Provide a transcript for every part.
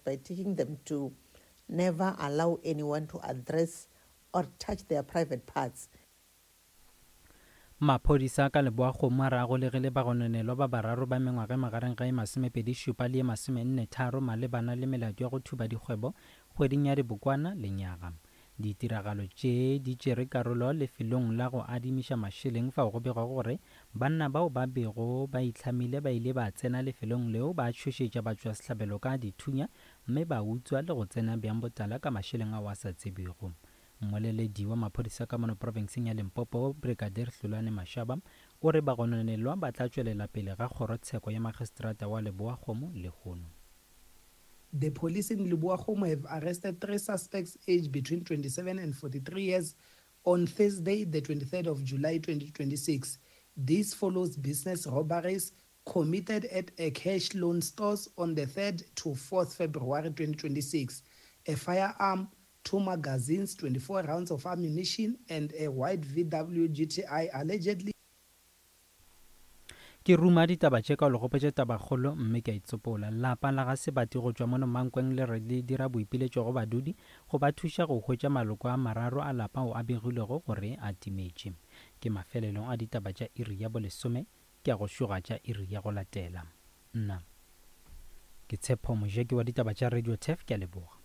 by teaching them to never allow anyone to address or touch their private parts. Maphodisa ka Leboa-Kgomo a re a golegile bagononelwa ba bararo ba mengwaga e magareng ga e masomepedi-šupa le ye masomenne-tharo malebana le melato ya go thuba dikgwebo kgweding ya Dibokwana lenyaga. Ditiragalo tše di tšere karolo lefelong la go adimiša mašeleng fao go begwago gore banna bao ba bego ba itlhamile ba ile ba tsena lefelong leo ba tšhošetša batšwasehlabelo ka dithunya mme ba utswa le go tsena bjang botala ka mašeleng ao a sa tsebjego. Mmoleledi wa maphodisa ka mono profenseng ya Limpopo, Brigadier Hlulani Mashaba, o re bagononelwa ba tla tšwelela pele ga kgorotsheko ya magistrata wa Leboa-Kgomo lehono. The police in Leboa-Kgomo have arrested three suspects aged between 27 and 43 years on Thursday, the 23rd of July 2026. This follows business robberies committed at a cash loan stores on the 3rd to 4th February 2026. A firearm, two magazines, 24 rounds of ammunition and a white VW GTI allegedly Ke ruma ditaba tše ka go le gopotša tabakgolo mme ke a itsopola. Lapa la ga Sebati go tšwa mono Mankweng le re le dira boipiletšo go badudi go ba thuša go hwetša maloko a mararo a lapa ao a begilwego gore a timetše. Ke mafelelong a ditaba tša iri ya bolesome ke a go šoga tša iri ya go latela. Nna ke Tshepo Mojeki wa ditaba tša Radio Turf, ke a leboga.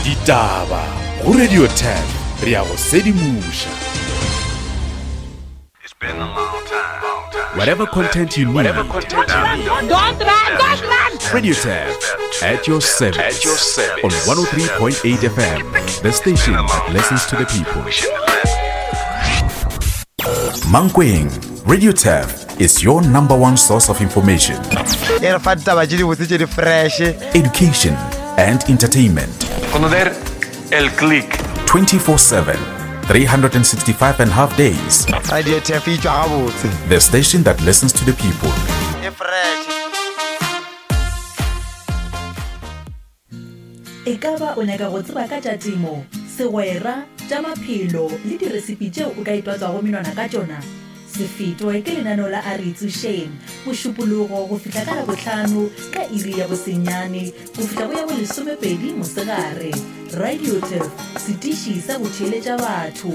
Ditaba go Radio Turf, re a go sedimoša. Whatever content you need. Don't run, don't run! Radio Turf at your service. On 103.8 FM, the station that listens to the people. Mankweng, Radio Turf is your number one source of information. E re fa ditaba tše dibotse tše di fresh. Education and entertainment. Conocer el click. 24-7, 365 and half days. Radio Turf e tšwa gabotse. The station that listens to the people. E fresh. Ekaba o nyaka go tseba ka tša temo, segwera, tša maphelo le diresipi tšeo o ka itwatswago menwana ka tšona? Se fetwe ke lenaneo la A Re Itsošeng, Mošupologo go fihla ka Labohlano ka iri ya bosenyane go fihla go ya bolesomepedi mosegare. Radio Turf, setiši sa go theeletša batho.